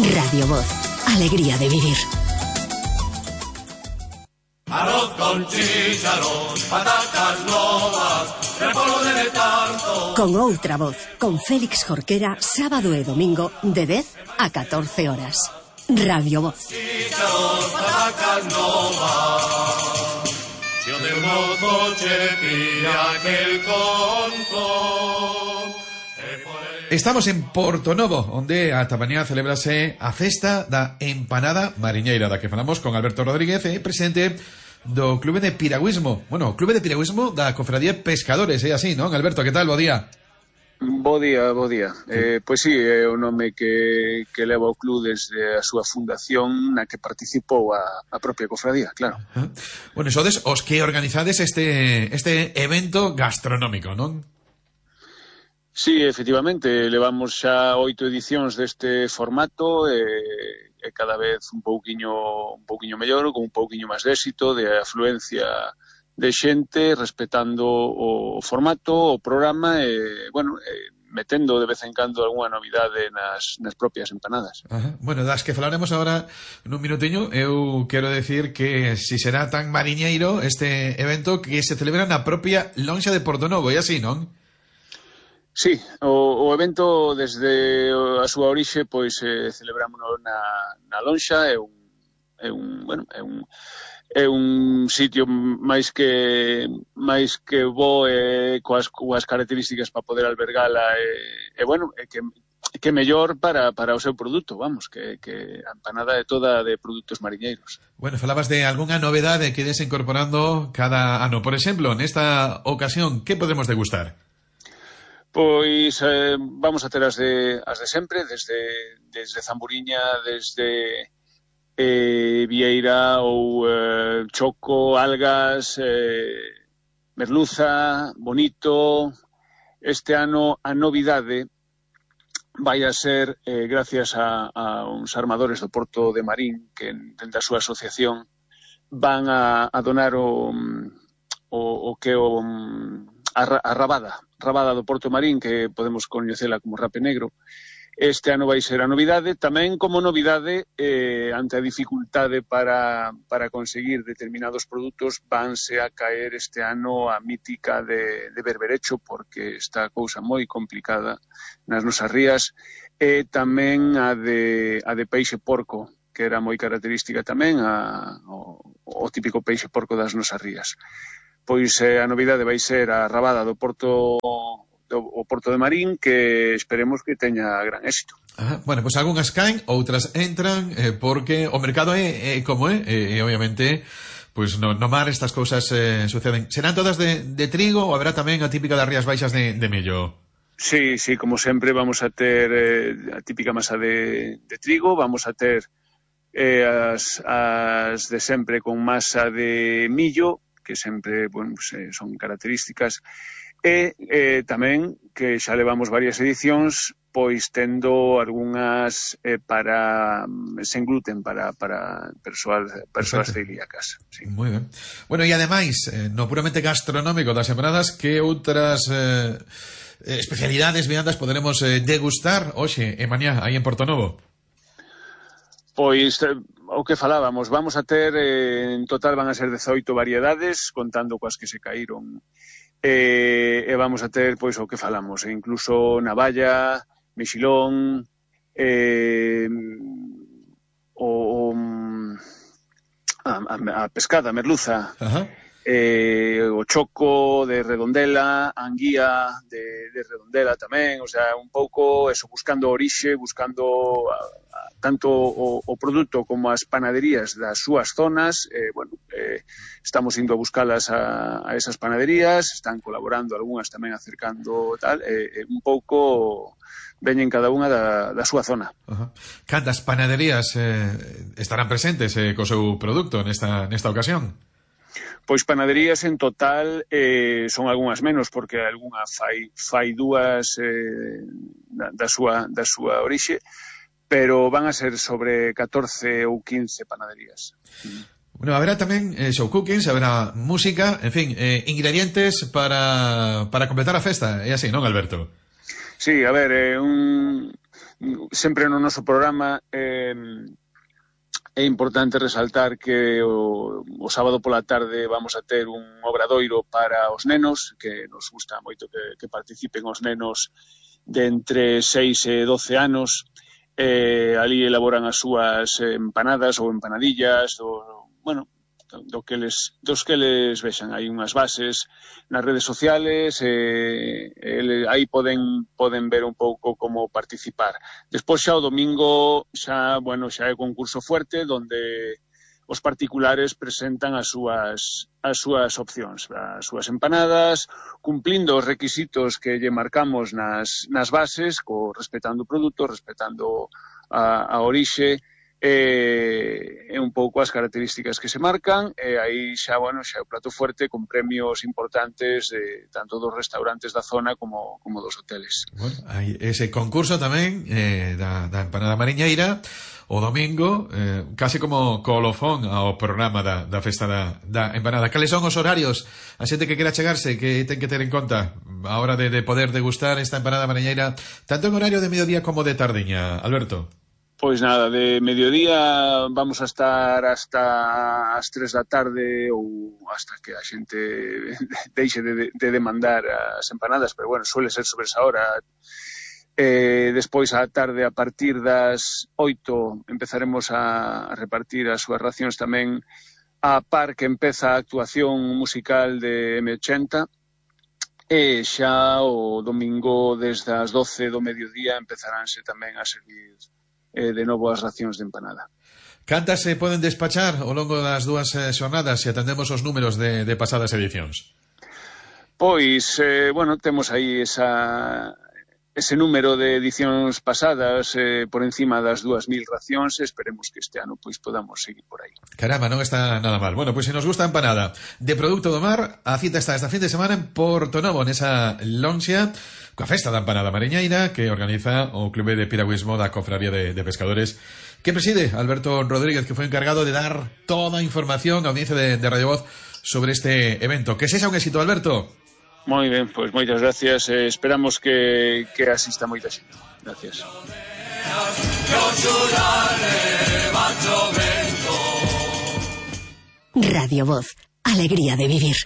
Radio Voz, alegría de vivir. Arroz con chícharos, patatas novas, repollo de letargo. Con outra voz, con Félix Jorquera, sábado e domingo, de 10 a 14 horas. Radio Voz. Chícharos, patatas novas. Si o de mozo che pilla aquel conto. Estamos en Portonovo, onde ata mañá celebrase a festa da empanada mariñeira, da que falamos con Alberto Rodríguez, presidente do Clube de Piragüismo. Bueno, Clube de Piragüismo da Cofradía Pescadores, é así, non? Alberto, que tal? Bo día. Bo día. Pois sí, é o nome que leva o club desde a súa fundación, na que participou a propia cofradía, claro. Bueno, sodes os que organizades este evento gastronómico, non? Sí, efectivamente, levamos xa 8 edicións deste formato e cada vez un pouquiño mellor, con un pouquiño máis de éxito, de afluencia de xente, respetando o formato, o programa e, bueno, metendo de vez en cando algunha novidade nas propias empanadas. Ajá. Bueno, das que falaremos agora nun minutiño, eu quero decir que si será tan mariñeiro este evento que se celebra na propia lonxa de Portonovo, e así, non? Sí, o evento desde a súa orixe pois celebrámonos na lonxa, é un sitio máis que bo coas características para poder albergala e bueno, que mellor para o seu produto, vamos, que a empanada é toda de produtos mariñeiros. Bueno, falabas de algunha novedade que ides incorporando cada ano. Por exemplo, nesta ocasión, que podremos degustar? Pois vamos a ter as de sempre, desde Zamburiña, desde Vieira ou choco, algas, merluza, bonito. Este ano a novidade vai a ser, gracias a uns armadores do Porto de Marín, que dentro da súa asociación van a donar a rabada do Porto Marín, que podemos coñecela como rape negro. Este ano vai ser a novidade, tamén como novidade, ante a dificultade para conseguir determinados produtos, vanse a caer este ano a mítica de berberecho, porque está a cousa moi complicada nas nosas rías, e tamén a de peixe porco, que era moi característica tamén, o típico peixe porco das nosas rías. Pois a novidade vai ser a rabada do Porto de Marín, que esperemos que teña gran éxito. Ajá. Bueno, pois algunhas caen, outras entran, porque o mercado é como é, e obviamente pois no mar estas cousas suceden. Serán todas de trigo ou haberá tamén a típica das Rías Baixas de mello? Sí, como sempre vamos a ter a típica masa de trigo, vamos a ter as de sempre con masa de millo, que sempre, bueno, pues, son características, e tamén que xa levamos varias edicións pois tendo algunhas sen gluten para persoas celíacas. Sí. Moi ben. Bueno, e ademais, no puramente gastronómico das empanadas, que outras especialidades, viandas poderemos degustar hoxe e mañá aí en Portonovo? Pois o que falábamos, vamos a ter, en total van a ser 18 variedades, contando coas que se caíron, e vamos a ter, pois, o que falamos, incluso navalla, mexilón, a pescada, a merluza, o choco de redondela, a anguía de redondela tamén, o sea, un pouco eso, buscando orixe, buscando tanto o produto como as panaderías das súas zonas. Bueno, estamos indo a buscalas a esas panaderías, están colaborando algunhas tamén acercando tal, un pouco veñen cada unha da súa zona. Cantas panaderías estarán presentes co seu produto nesta ocasión? Pois panaderías en total son algunhas menos, porque algunha fai dúas da súa orixe, pero van a ser sobre 14 ou 15 panaderías. Bueno, haberá tamén show cookings, haberá música, en fin, ingredientes para completar a festa, é así, non, Alberto? Sí, a ver, sempre no noso programa é importante resaltar que o sábado pola tarde vamos a ter un obradoiro para os nenos, que nos gusta moito que participen os nenos de entre 6 e 12 anos. Ali elaboran as súas empanadas ou empanadillas, dos que les vexan. Hai unhas bases nas redes sociales, aí poden ver un pouco como participar. Despois xa o domingo xa é concurso fuerte, onde os particulares presentan as súas opcións, as súas empanadas, cumplindo os requisitos que lle marcamos nas bases, respetando o produto, respetando a orixe, e un pouco as características que se marcan, e aí xa é o plato fuerte con premios importantes tanto dos restaurantes da zona como dos hoteles. Bueno, hai ese concurso tamén da empanada mariñeira o domingo, case como colofón ao programa da festa da empanada. Cales son os horarios? A xente que quera chegarse, que ten que ter en conta a hora de poder degustar esta empanada mariñeira, tanto en horario de mediodía como de tardiña, Alberto? Pois nada, de mediodía vamos a estar hasta as 3 da tarde ou hasta que a xente deixe de demandar as empanadas, pero suele ser sobre esa hora. Despois á tarde, a partir das 8, empezaremos a repartir as súas racións tamén a par que empeza a actuación musical de M80, e xa o domingo desde as 12 do mediodía empezaránse tamén a servir de novo as racións de empanada. Cantas se poden despachar ao longo das dúas xornadas se atendemos os números de pasadas edicións? Pois, temos aí ese número de edicións pasadas por encima das 2.000 racións, e esperemos que este ano podamos seguir por aí. Caramba, non está nada mal. Bueno, pois se nos gusta a empanada de produto do mar, a cita está esta fin de semana en Portonovo, nesa lonxa, coa festa da empanada mariñeira que organiza o Clube de Piragüismo da Cofradía de Pescadores, que preside Alberto Rodríguez, que foi encargado de dar toda a información á audiencia de Radio Voz sobre este evento. Que sexa un éxito, Alberto. Moi ben, pois moitas gracias. Esperamos que asista moita xente. Gracias. Radio Voz, alegría de vivir.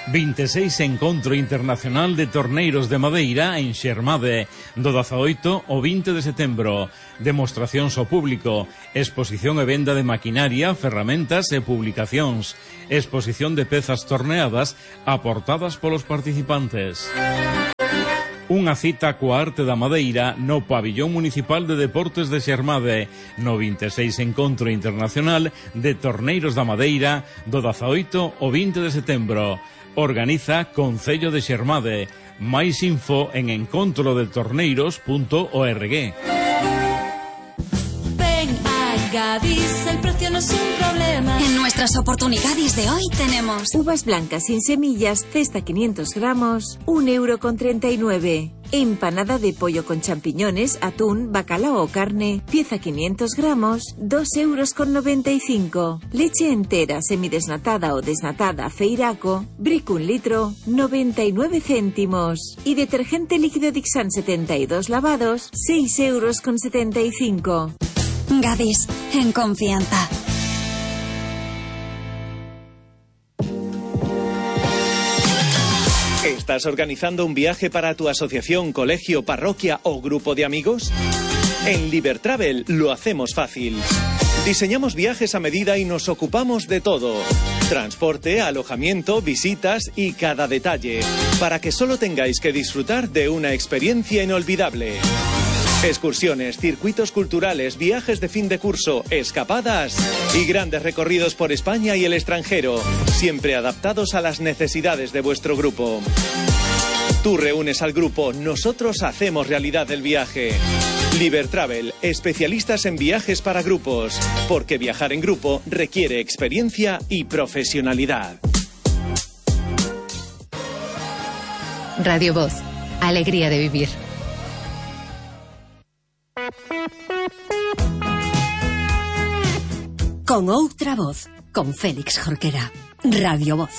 26 Encontro Internacional de Torneiros de Madeira en Xermade, do 18 ao 20 de setembro. Demostracións ao público, exposición e venda de maquinaria, ferramentas e publicacións, exposición de pezas torneadas aportadas polos participantes. Unha cita coa arte da madeira no Pabillón Municipal de Deportes de Xermade, no 26 Encontro Internacional de Torneiros da Madeira, do 18 ao 20 de setembro. Organiza Concello de Xermade. Máis info en encontrodetorneiros.org. Gadis, el precio no es un problema. En nuestras oportunidades de hoy tenemos uvas blancas sin semillas, cesta 500 gramos, 1,39 €. Empanada de pollo con champiñones, atún, bacalao o carne, pieza 500 gramos, 2,95 €. Leche entera, semidesnatada o desnatada, Feiraco, Brick 1 litro, 99 céntimos. Y detergente líquido Dixan 72 lavados, 6,75 €. Gadis, en confianza. ¿Estás organizando un viaje para tu asociación, colegio, parroquia o grupo de amigos? En Libertravel lo hacemos fácil. Diseñamos viajes a medida y nos ocupamos de todo. Transporte, alojamiento, visitas y cada detalle, para que solo tengáis que disfrutar de una experiencia inolvidable. Excursiones, circuitos culturales, viajes de fin de curso, escapadas y grandes recorridos por España y el extranjero, siempre adaptados a las necesidades de vuestro grupo. Tú reúnes al grupo, nosotros hacemos realidad el viaje. Libertravel, especialistas en viajes para grupos, porque viajar en grupo requiere experiencia y profesionalidad. Radio Voz, alegría de vivir. Con outra voz, con Félix Jorquera. Radio Voz.